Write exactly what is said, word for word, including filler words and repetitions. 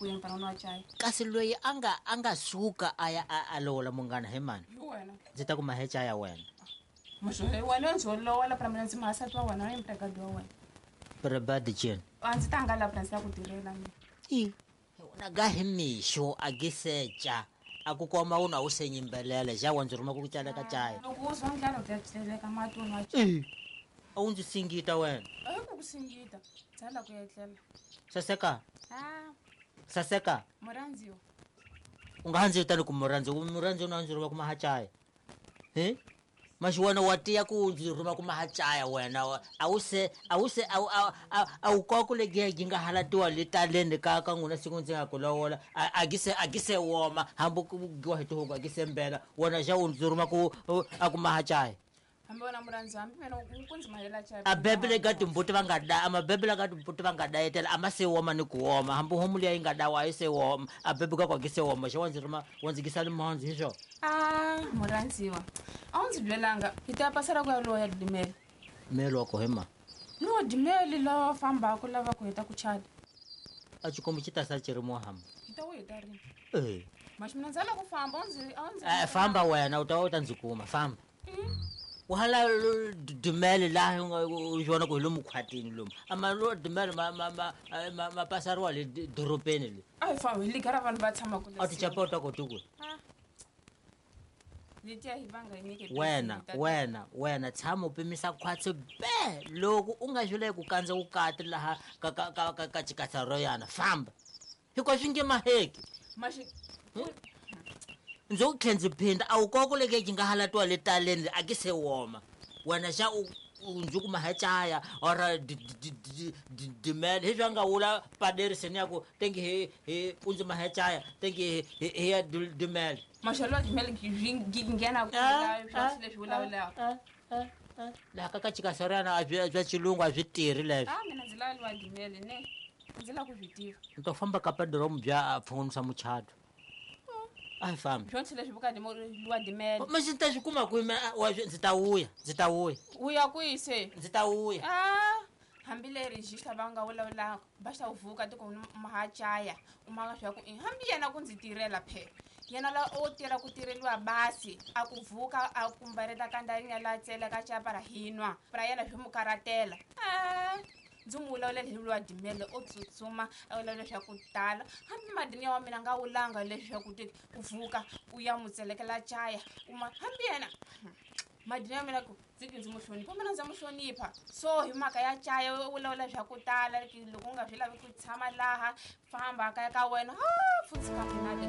ku yini pana nwa chaya. Kasi loyi a nga a nga suka a ya a lovola munghana he mani. Hi wena. Ndzi ta ku mahe chaya wena. Muxo wena ndzi lovola pana mina ndzi mahasati wa wena ni mtakadi wa wena. Prabadi chen. A ndzi ta nga la pana ndzi ta ku tirhela mina. I. Wena ga hi mixo a gisecha. A ku koma u na u senyimbelela ja wa ndzi rhuma ku cala ka chaya. Loko u zwa ndlala u ta tseleka mati u nwa chaya. A wu ndzi singita wena. A hi ku ku singita. Tsala ku etlela. Saseka. Ah. Saseka. Murhandziwa. U nga ndzi vitani ku murhandziwa, murhandziwa na ndzi rhuma ku mahachaya. He? Maxiwana wa tiya ku ndzi rhuma ku mahachaya wena. A wu se a wu se a a wu koku le gi nga halatiwa le taleni ka ka n'wina siku ndzi nga ku lovola. A gi se a gi se woma hambi ku giwa hi tihuku a gi se mbela. Wena xa u ndzi rhuma ku a ku mahachaya. Hambi wena murhandzi hambi mina u ku ndzi mahela chaya. A bebele ka timbuti va nga da a mabebele ka timbuti va nga dayetela a ma se woma ni ku woma hambi homu liya yi nga dawa a yi se woma a bebe ka kwa gi se woma xa wa ndzi rhuma wa ndzi gisa limhandzu hi swona. Ah murhandziwa a wu ndzi byelanga hi ta pasela ku ya loya dimele. Mele wa ko hema. No dimele lava fambaka lava ku heta ku chada. A xikombo xi ta sala xi ri muhamba. Hi ta wu heta rini? Eh. Maxi mina ndzi ala ku famba u ndzi a ndzi. Eh famba wena u ta u ta ndzi kuma famba. Wahala dumele la u vona ku hi lomu khwatini lomu ama lo dumele ma ma ma ma pasariwa le dorobeni le. A hi fambi hi ligara vanhu va tshama ku a ti chapota ko tuku. Letiya hi vanga hi nyike wena wena wena tshama u pimisa khwatsi be loko u nga xule ku kandza vukati laha ka ka ka ka chikatsa yana famba hikuva swi nge maheki. Maxi ndzi ku tlhe ndzi phinda a wu koko leke yi nga halatiwa le taleni a ki se woma wena xa u ndzi ku mahachaya or dimele hi swa nga wula paderiseni ya ku tengi hi hi u ndzi mahachaya tengi hi hi ya dimele. Maxelo wa dimele gi nghena ku la swa leswi vulavulaka. Laha ka ka chikasarana a byi bya xilungu a byi tirhi leswi. A mina ndzi lava liwa dimele ne ndzi lava ku swi tiva. Ni to famba ka padromu bya a pfunisa muchato. A hi fambi. Swonse leswi vukati mo liwa dimele. Maxi ta swi kuma kwihi wa ndzi ta wuya ndzi ta wuya. U ya kwihi se? Ndzi ta wuya. Ah hambi leri xi va nga vulavulaka va xa vuka tiko mahachaya u maka swa ku hambi yena ku ndzi tirhela phe. Yena la o tirha ku tirheliwa basi a ku vuka a kumbareta kandarinya la tsela ka chapa ra hinwa. Pra yena swi mu karatela. Ah ndzi mu vulavula hi lwa dimele o tsutsuma a vulavula swa ku tala hambi madini wa mina nga wulanga leswaku ku vuka u ya mu tselekela chaya u ma hambi yena madini ya mina ku ndzi ndzi mu hlonipha mina ndza mu hlonipha so hi mhaka ya chaya u vulavula swa ku tala loko u nga swi lavi ku tshama laha famba kaya ka wena ha futhi ka mina.